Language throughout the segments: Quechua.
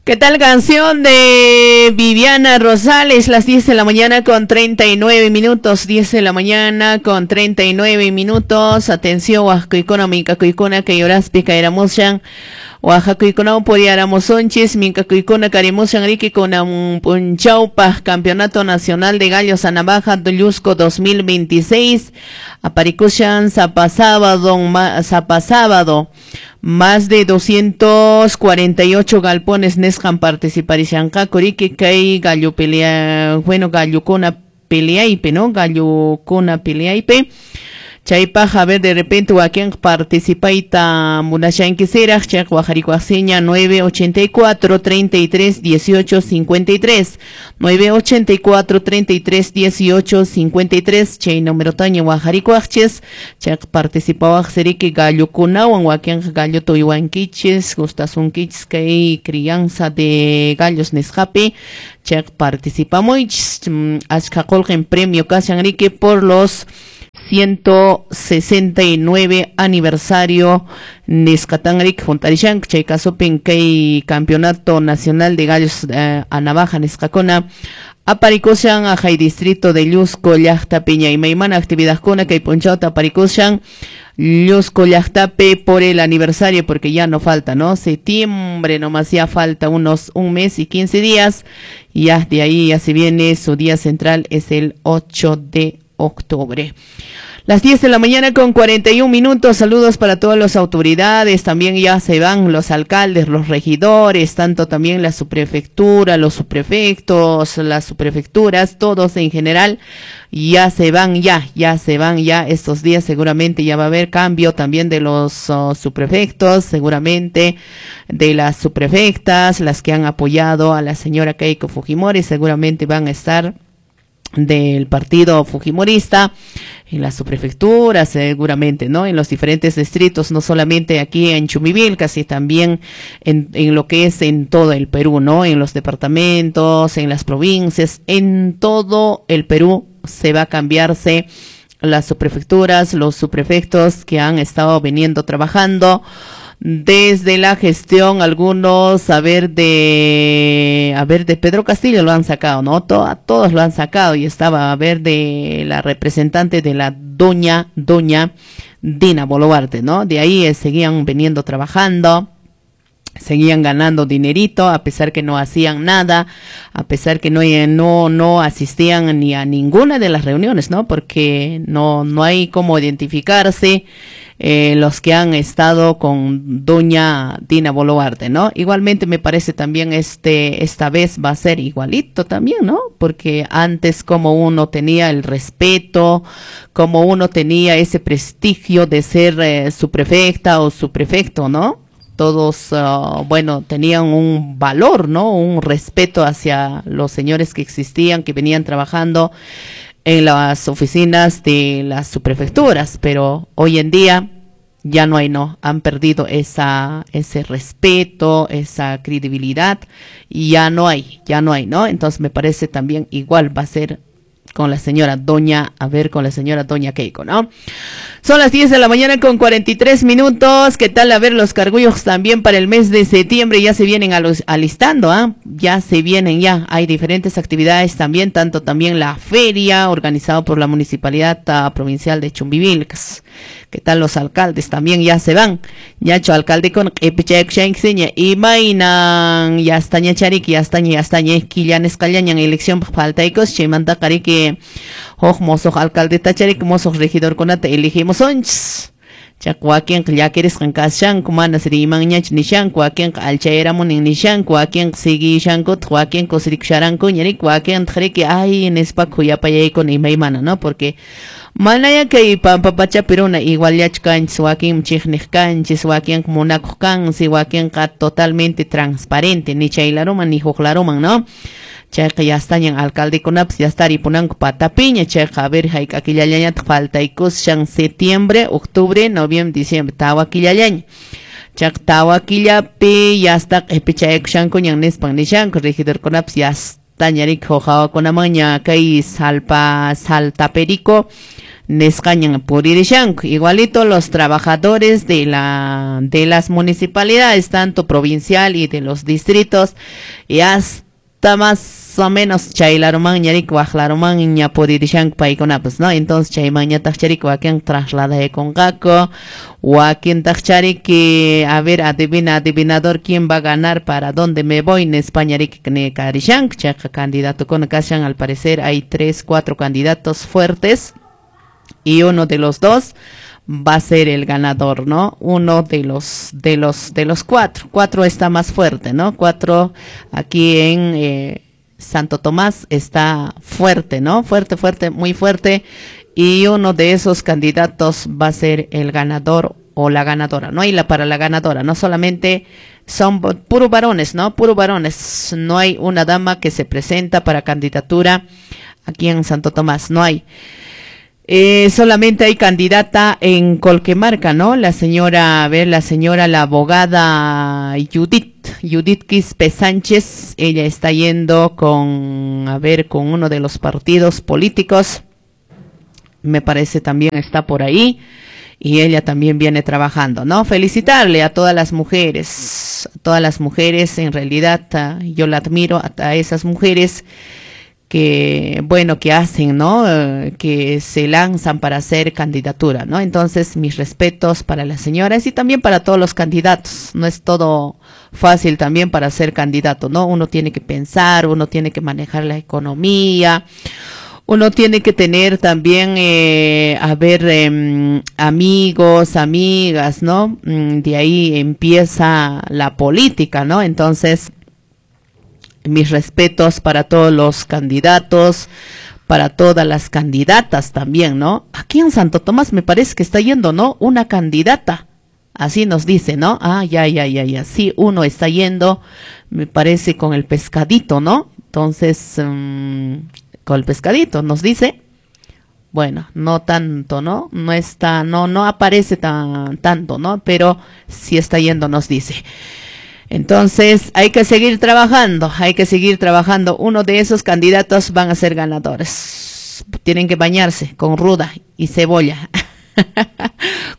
¿Qué tal canción de Viviana Rosales? Las 10 de la mañana con 39 minutos. 10 de la mañana con 39 minutos. Atención, Oaxaca, Mincacuicuna, Cayoraspi, Cairamushan. Oaxacuicuna, Poriaramosonchis, Mincacuicuna, Carimushan, Riqui, Punchaupa, Campeonato Nacional de Gallos a Navaja, Llusco 2026. Aparicushan, Zapasábado, Zapasábado. Más de 248 galpones nesjan participarishanqa kuriki kay gallo pelea, bueno, gallokuna peleaypi, ¿no? Gallokuna peleaypi. Chaypaq, a ver, de repente wakin participayta munashankisiraq, chayqa waqharikuqsiña 984 33 18 53, 984 33 18 53, chay numerotaña waqharikuqchis, chayqa participawaq siriki gallokunawan, wakinqa gallota uywankichis, gustasunkichis kay crianza de gallos nisqapi, chayqa participamuychis, achka qullqin premio kashan riki por los 169 aniversario nisqatanrik juntarishanku chay kasupin kay Campeonato Nacional de Gallos a Navaja nisqakuna aparikushan ajay distrito de Llusco llaqtapi ñaymaymana actividadkuna kay p'unchawta aparikushan Llusco llaqtapi por el aniversario, porque ya no falta, ¿no? Septiembre nomás ya falta unos un mes y 15 días, y ya de ahí ya se viene su día central, es el 8 de octubre. Las 10 de la mañana con 41 minutos, saludos para todas las autoridades, también ya se van los alcaldes, los regidores, tanto también la subprefectura, los subprefectos, las subprefecturas, todos en general, ya se van ya, ya se van ya estos días, seguramente ya va a haber cambio también de los subprefectos, seguramente de las subprefectas, las que han apoyado a la señora Keiko Fujimori, seguramente van a estar del partido fujimorista en la subprefectura, seguramente, ¿no? En los diferentes distritos, no solamente aquí en Chumbivilcas, casi también en lo que es en todo el Perú, ¿no? En los departamentos, en las provincias, en todo el Perú se va a cambiarse las subprefecturas, los subprefectos que han estado viniendo trabajando desde la gestión, algunos, a ver, de Pedro Castillo lo han sacado, ¿no? A todos lo han sacado, y estaba, a ver, de la representante de la doña Dina Boluarte, ¿no? De ahí seguían viniendo trabajando, seguían ganando dinerito, a pesar que no hacían nada, a pesar que no asistían ni a ninguna de las reuniones, ¿no? Porque no hay cómo identificarse los que han estado con doña Dina Boluarte, ¿no? Igualmente me parece también esta vez va a ser igualito también, ¿no? Porque antes como uno tenía el respeto, como uno tenía ese prestigio de ser subprefecta o subprefecto, ¿no? Todos, bueno, tenían un valor, ¿no? Un respeto hacia los señores que existían, que venían trabajando en las oficinas de las subprefecturas, pero hoy en día ya no hay, no, han perdido ese respeto, esa credibilidad, y ya no hay, ¿no? Entonces me parece también igual va a ser con la señora doña, a ver, con la señora doña Keiko, ¿no? Son las 10 de la mañana con 43 minutos. ¿Qué tal? A ver, los cargullos también para el mes de septiembre ya se vienen alistando, ¿ah? Ya se vienen, ya. Hay diferentes actividades también, tanto también la feria organizada por la Municipalidad Provincial de Chumbivilcas. ¿Qué tal los alcaldes? También ya se van. Ñacho alcalde con y mainan ya está ñacharik, ya está quillanes callañan elección faltaicos, chimanta carique hoj mozoq alcalde tacharik, mozoq regidor kunata elegimos onchis. Chacuaquenqa llakirisqan kashanku, manas rimanñachu nishanku, wakinqa alchayaramunin nishanku, wakinqa siguishankutaq, wakinqa kusirikusharankuña riki, wakintaq riki ay nispa khuyapayaykuna imaymana, ¿no? Porque manaya kay pampa pachapi runa iguallachu kanchis, wakinmi chiqniq kanchis, wakinqa munakuq kansi, wakinqa totalmente transparente, ni chay laruman ni huk laruman, ¿no? Chayqa ya estañan alcaldekunapas, ya está ripunanku patapiña, chayqa a ver hayk'a killallañataq faltaykushan septiembre, octubre, noviembre, diciembre, tawa killallaña. Chayqa tawa killapi ya está q'ipichaykushankuñan nispan nishanku, regidorkunapas ya estaña riki huq hawakunamanña kay saltaperico Nisqañan puririshanku. Igualito los trabajadores de las municipalidades, tanto provincial y de los distritos, y hasta más o menos chaylarumanña riki waqlarumanña puririshanku paykunapas, ¿no? Entonces chaymanñataq chariki wakin trasladaykunqaku, wakintaq chariki, a ver, adivina, adivinador, quién va a ganar, para dónde me voy, nispaña riki nikarishanku. Chayqa candidatokuna kashan, al parecer hay 3, 4 candidatos fuertes y uno de los dos va a ser el ganador, ¿no? Uno de los 4. 4 está más fuerte, ¿no? 4 aquí en Santo Tomás está fuerte, ¿no? Fuerte, fuerte, muy fuerte. Y uno de esos candidatos va a ser el ganador o la ganadora, ¿no? Y la para la ganadora, no solamente son puro varones, ¿no? Puro varones. No hay una dama que se presenta para candidatura aquí en Santo Tomás, no hay. Solamente hay candidata en Colquemarca, ¿no? La señora, a ver, la señora, la abogada Judith Quispe Sánchez, ella está yendo con, a ver, con uno de los partidos políticos, me parece también está por ahí, y ella también viene trabajando, ¿no? Felicitarle a todas las mujeres, en realidad, yo la admiro a esas mujeres que, bueno, que hacen, ¿no? Que se lanzan para hacer candidatura, ¿no? Entonces, mis respetos para las señoras y también para todos los candidatos. No es todo fácil también para ser candidato, ¿no? Uno tiene que pensar, uno tiene que manejar la economía, uno tiene que tener también, amigos, amigas, ¿no? De ahí empieza la política, ¿no? Entonces, mis respetos para todos los candidatos, para todas las candidatas también, ¿no? Aquí en Santo Tomás me parece que está yendo, ¿no? Una candidata, así nos dice, ¿no? Ah, ya, sí, uno está yendo, me parece, con el pescadito, ¿no? Entonces, con el pescadito nos dice. Bueno, no tanto, ¿no? No está, no aparece tanto, ¿no? Pero sí está yendo, nos dice. Entonces, hay que seguir trabajando, hay que seguir trabajando. Uno de esos candidatos van a ser ganadores. Tienen que bañarse con ruda y cebolla.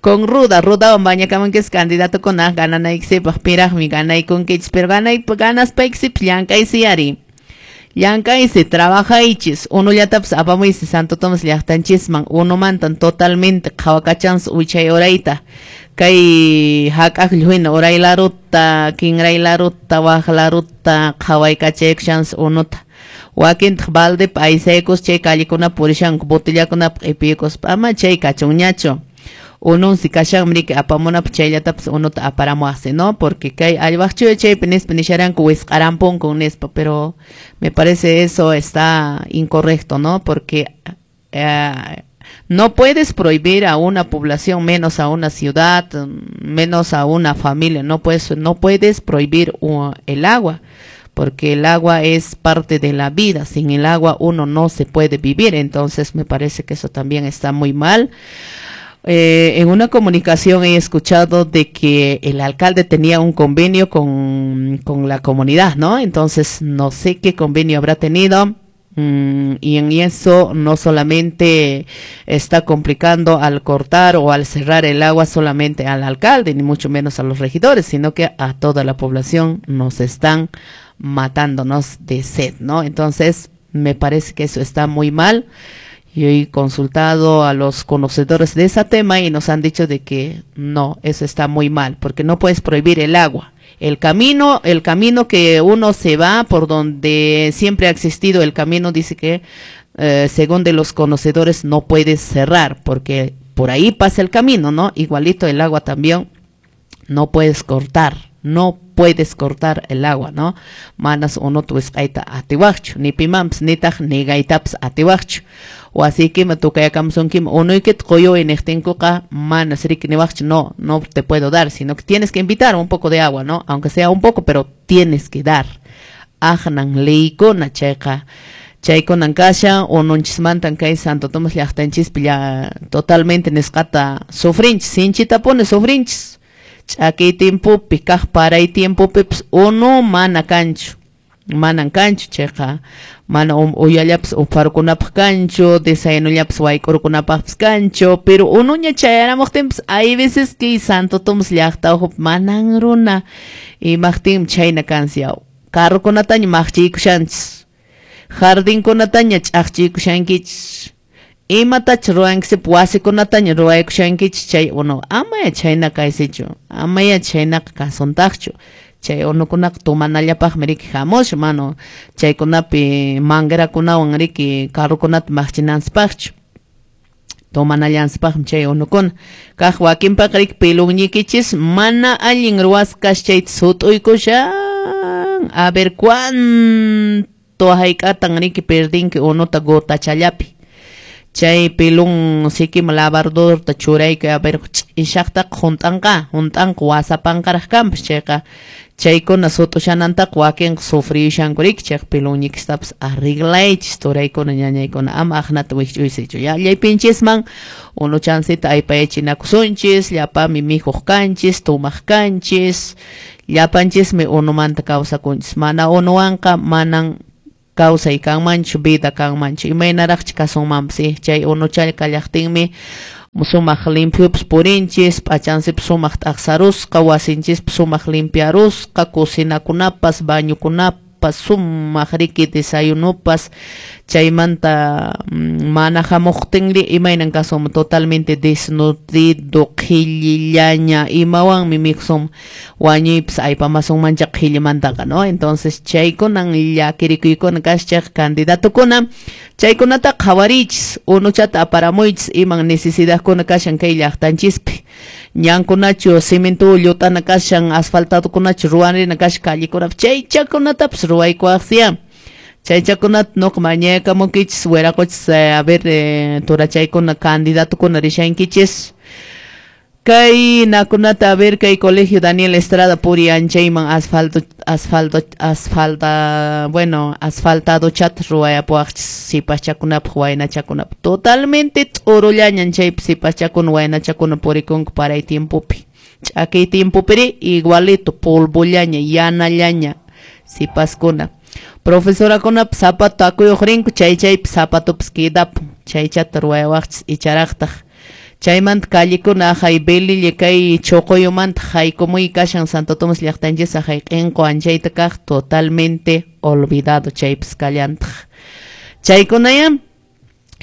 Con ruda, baña que es candidato con a ganan mi gana y con que pero gana y ganas llankaysi llankaysi trabajaychis uno llatapas apamuysi Santo Tomás llaqtanchisman uno mantan totalmente qhawakachansi wichay urayta kay hak'aqllu uray laruta kinray laruta waq laruta qhawaykachaykashansi unuta wakintaq baldepi aysaykus chay callekunapa purishanku botellakunapi q'ipiykuspa ama chay kachunñachu ununsi kashanmi riki apamunapaq chayllatapas unuta aparamuaqsi, ¿no? Porque kay allwaqchuya chaypi nispa nisharanku wisq'arampunkun nispa, pero me parece eso está incorrecto, ¿no? Porque no puedes prohibir a una población, menos a una ciudad, menos a una familia, no puedes prohibir el agua, porque el agua es parte de la vida, sin el agua uno no se puede vivir, entonces me parece que eso también está muy mal. En una comunicación he escuchado de que el alcalde tenía un convenio con la comunidad, ¿no? Entonces no sé qué convenio habrá tenido. Y en eso no solamente está complicando al cortar o al cerrar el agua solamente al alcalde, ni mucho menos a los regidores, sino que a toda la población nos están matándonos de sed, ¿no? Entonces me parece que eso está muy mal. Yo he consultado a los conocedores de ese tema y nos han dicho de que no, eso está muy mal, porque no puedes prohibir el agua. El camino que uno se va, por donde siempre ha existido el camino, dice que según de los conocedores no puedes cerrar, porque por ahí pasa el camino, ¿no? Igualito el agua también no puedes cortar, no puedes cortar el agua, ¿no? Manas uno tuisqayta atiwaqchu, ni pimanpas nitaq nigaytapas atiwaqchu. Wasikima tukayakamusunkima unuykita quyuy niqtinkuqa manas riki niwaqchu, no, no te puedo dar, sino que tienes que invitar un poco de agua, ¿no? Aunque sea un poco, pero tienes que dar. Aqnan leykuna chayqa chaykunan kashan ununchismantan kay Santo Tomás llaqtanchispi ya totalmente nisqata sufrinchis, sinchitapuni sufrinchis. Ch'akiy tiempopi kaq paray tiempopipas unu mana kanchu. Manan kanchu chayqa, mana uyallapas upharukunapaq kanchu, desayunullapas wayk'urukunapaqpas kanchu, pero unuña chayaramuqtinpas hay veces que Santo Tomás llaqta ukhupi manan runa imaqtinmi chhayna kansi yaw. Carrokunataña maqchiykushanchis, jardinkunataña ch'aqchiykushankichis, imatachus ruwankisipas wasikunataña ruwaykushankichis chay unu amaya chhayna kaysichu, amaya chhaynaqa kasuntaqchu. Chay unukunaqa tumanallapaqmi riki hamushan, mano chaykunapi manguerakunawan riki carrokunata maqchinanchispaqchu. Tomanallansipaqmi chay unukuna. Kaq wakinpaqa riki pelunñikichis mana allin ruwasqa chayta sut'uykushan. A ver cuánto hayk'atan riki perdinki unuta gotachallapi. Chay pelun sikima lavadorta churaykuy, a ver ch'ishaqtaqa hunt'anqa, hunt'anqa wasapanqaraq kanpas chayqa. Chaykuna sut'ushanantaqa wakinqa sufriyushanku riki, chayqa pelunñikistapas arreglaychis turaykuna ñañaykuna, ama aqnata wikch'uysichu. Yallaypinchisman unuchansita aypayachinakusunchis, llapami mikhuq kanchis, tumaq kanchis, llapanchismi unumanta kawsakunchis. Mana unuwanqa manan kawsay kanmanchu, vida kanmanchu, imaynaraqchi kasunmanpas, chay unuchalla kallaqtinmi sumaq limpiopas purinchis, p'achansipas sumaq t'aqsarusqa, wasinchispas sumaq limpiarusqa, cocinakunapas, bañokunapas, sumaq riki desayunupas, chaymanta mana hamuqtinri imaynan kasunman, totalmente desnutrido, qhillillaña, imawanmi mikhusun, wañuypas aypamasunmancha qhillimantaqa, ¿no? Entonces chaykunan llakirikuykuna kashan candidatokuna, chaykunata qhawariychis, unuchata aparamuychis, iman necesidadkuna kashan kay llaqtanchispi. Ñankunachu cemento llut'ana kashan, asfaltadokunachu ruwanrina kashan callekunapi, chaychakunatapas ruwaykuwaqsiya. Chaychakunata nuqa mañayakamunkichis, wiraquchis, a ver, turachaykuna candidatokuna rishankichis. Kay nakunata, a ver, kay colegio Daniel Estrada puri anchayman asfalto, asfalto, asfalta, bueno, asfaltado chat ruwayapuwaqchis sipaschakunapaq, waynachakunapaq. Totalmente t'urullañan chaypi sipaschakuna, waynachakuna purikunku paray tiempopi. Ch'akiy tiempopiri igualito, polvollaña, yanallaña sipaskuna. Profesorakunapas zapato takuyuq rinku, chay chaypi zapatopas quedapun, chaychata ruwayawaqchis icharaqtaq. Chaymanta callikuna ajay Belille kay Chocoyomanta haykumuy kashan Santo Tomás llaqtanchis ajay q'inqu anchayta kaq totalmente olvidado chaypis kallantaq. Chaykunaya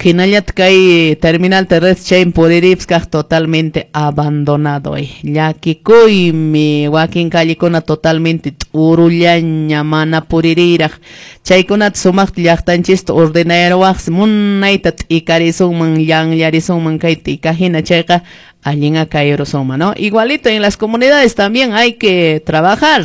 hinallataq kay terminal terrestre chaymi puriripis kaq totalmente abandonado. Llakikuymi wakin callikuna totalmente t'urullaña mana puririyraq. Chaykunata sumaqta llaqtanchista ordenayaruwaqsi munayta t'ikarisunman, llanllarisunman kay t'ika hina chayqa allinqa kayrusunman, ¿no? Igualito en las comunidades también hay que trabajar.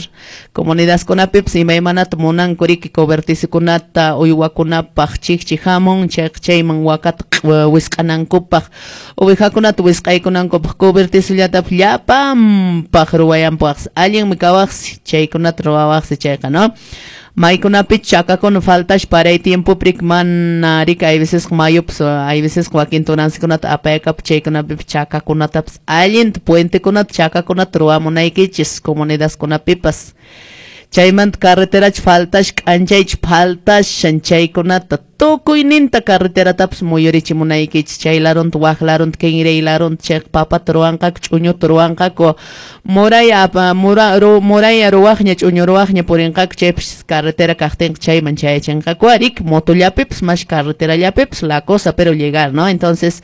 Comunidadkunapipas imaymanata munanku riki cobertizikunata uywakunapaq chikchi hamun, chayqa chayman wakata wisq'anankupaq, ovejakunata wisq'aykunankupaq cobertizullatapis llapanpaq ruwayanpaqsi. Allinmi kawaqsi chaykunata ruwawaqsi chayqa, ¿no? Maykunapi chakakuna faltash paray tiempopi riki mana riki hay veces mayupas, hay veces wakin tunansikunata apayakapu chaykunapipas chakakunatapas allinta puentekunata chakakunata ruwamunaykichis comunidadkunapipas. Chaymanta carreterachu faltash k'anchaychu faltashan chaykunata tukuyninta carreteratapas muyurichimunaykichis chay larunta wak larunta kinray larunta chayqa papata ruwanqaku ch'uñuta ruwanqaku muraya muraya ruwaqña ch'uñu ruwaqña purinqaku chaypis carretera kaqtinqa chayman chayachinqaku riki motollapipas mas carreterallapipas la cosa pero llegar, ¿no? Entonces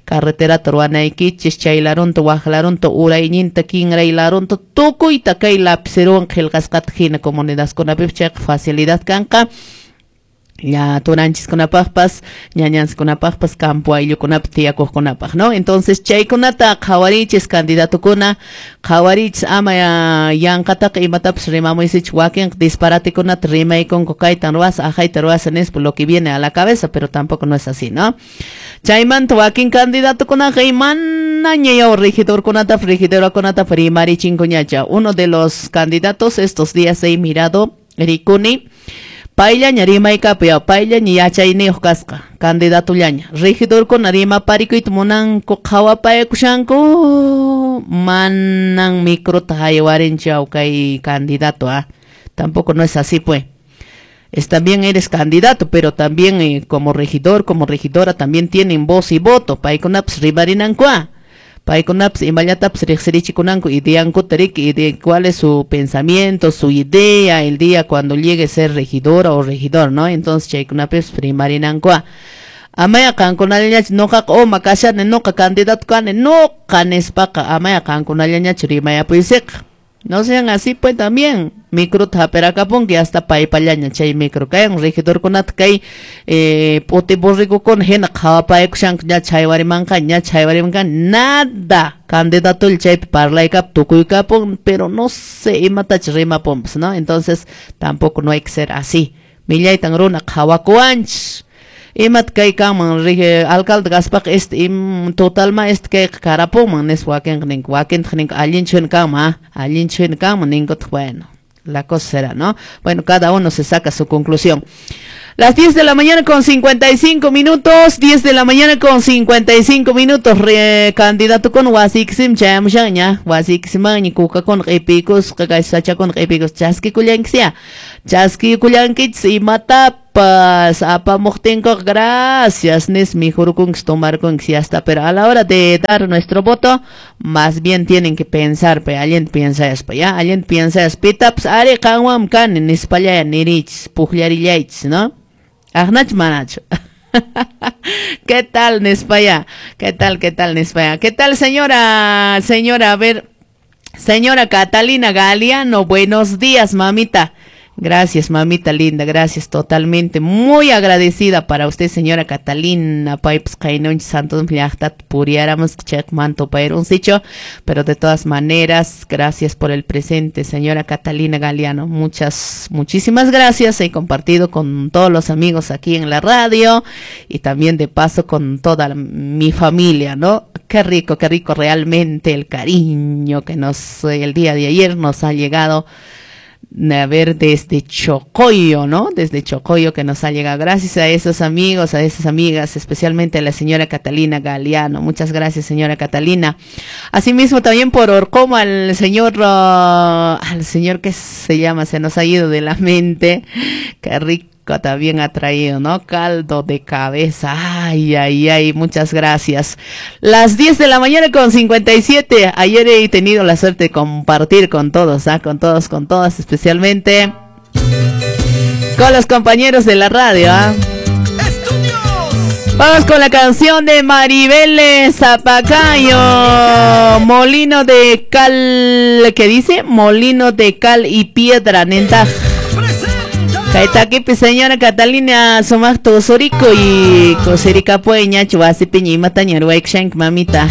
carreterata ruwanaykichis chay larunta wak larunta urayninta kinray larunta tukuyta kay lapicerowan qillqasqata hina comunidadkunapipas chayqa facilidad kanqa. Ya turanchiskunapaqpas, ñañanchiskunapaqpas, campo ayllukunapi tiyakuqkunapaq, ¿no? Entonces chaykunata qhawarichis candidatokuna, qhawarichis ama yanqataqa imatapas rimamuysichu, wakinqa disparatikunata rimaykunku kaytan ruwasa, ajayta ruwasa nispa lo que viene a la cabeza, pero tampoco no es así, ¿no? Chaymanta wakin candidatokunaqa imanaña yaw regidorkunatapas, regidorakunatapas rimarichinkuñacha. Uno de los candidatos estos días he mirado, rikuni, payllaña rimaykapu yaw, payllaña yachayniyuq kasqa, candidatullaña. Regidorkuna rimaparikuyta munanku qhawapayakushanku, manan microta haywarinchu yaw kay candidato, Tampoco no es así, pues. También eres candidato, pero también como regidor, como regidora también tienen voz y voto. Paykunapas rimarinankuá. Paykunapas imallatapas riqsirichikunanku ideankuta riki, de cuál es su pensamiento, su idea el día cuando llegue a ser regidora o regidor, ¿no? Entonces chaykunapis rimarinankuá. Amaya qankunallañachu noqaqa uma kashani, noqa candidato kani, noqa nispaqa amaya qankunallañachu rimayapuysiqa. No sean así, pues también microta hap'irakapunki hasta paypallaña chay micro kayan regidorkunata kay p'uti borregokuna hina qhawapaykushanku ña chaywarimanqa ña chaywarimanqa nada candidatolla chaypi parlaykapun tukuykapun, pero no sé imatacha rimapunpas, ¿no? Entonces tampoco no hay que ser así. Millaytan runa qhawakuwanchis. Imat kay kanman alcalde kaspaqa totalma kayqa karapunman nispa wakinqa ninku, wakintaq ninku allinchu hina kanman, allinchu hina kanman ninkutaq, bueno, la cosa será, ¿no? Bueno, cada uno se saca su conclusión. Las 10 de la mañana con 55 minutos, 10 de la mañana con 55 minutos, candidato con wasiksim chayamushanña, wasiksimanña kukakuna q'ipikusqa, kay sachakuna q'ipikusqa, chaskikullankisyá, chaskikullankichis imatapas apamuqtinkuqa gracias nis mijurukunkis tomarkunkis ya está, pero a la hora de dar nuestro voto, más bien tienen que pensar, pe, allinta piensaspa, ya, allinta piensaspa, pitapas ari qanwan kani nispallaya nirichis, pukllarillaychis, ¿no? Ahnach manacho. ¿Qué tal, Nespaya? ¿Qué tal, Nespaya? ¿Qué tal, señora? Señora, a ver, señora Catalina Galeano, buenos días, mamita. Gracias, mamita linda, gracias totalmente. Muy agradecida para usted, señora Catalina. Paypas qaynunchik santos llaqtata puriáramos chaymanto payrunsicho, pero de todas maneras, gracias por el presente, señora Catalina Galeano. Muchas, muchísimas gracias. He compartido con todos los amigos aquí en la radio y también de paso con toda mi familia, ¿no? Qué rico realmente el cariño que nos, el día de ayer nos ha llegado. A ver, desde Chocoyo, ¿no? Desde Chocoyo que nos ha llegado. Gracias a esos amigos, a esas amigas, especialmente a la señora Catalina Galeano. Muchas gracias, señora Catalina. Asimismo, también por Orcoma, al señor que se llama, se nos ha ido de la mente. Qué rico también ha traído, ¿no? Caldo de cabeza. Ay, ay, ay, muchas gracias. Las 10 de la mañana con 57. Ayer he tenido la suerte de compartir con todos, ¿ah? Con todos, con todas, especialmente con los compañeros de la radio, ¿ah? Vamos con la canción de Maribel Zapacayo, Molino de Cal, ¿qué dice? Molino de Cal y Piedra, nenta. Kaytakipi señora Catalina sumaqta usuriko y kusirikapuy ñachu wasipiña imataña ruwaykushanki mamita.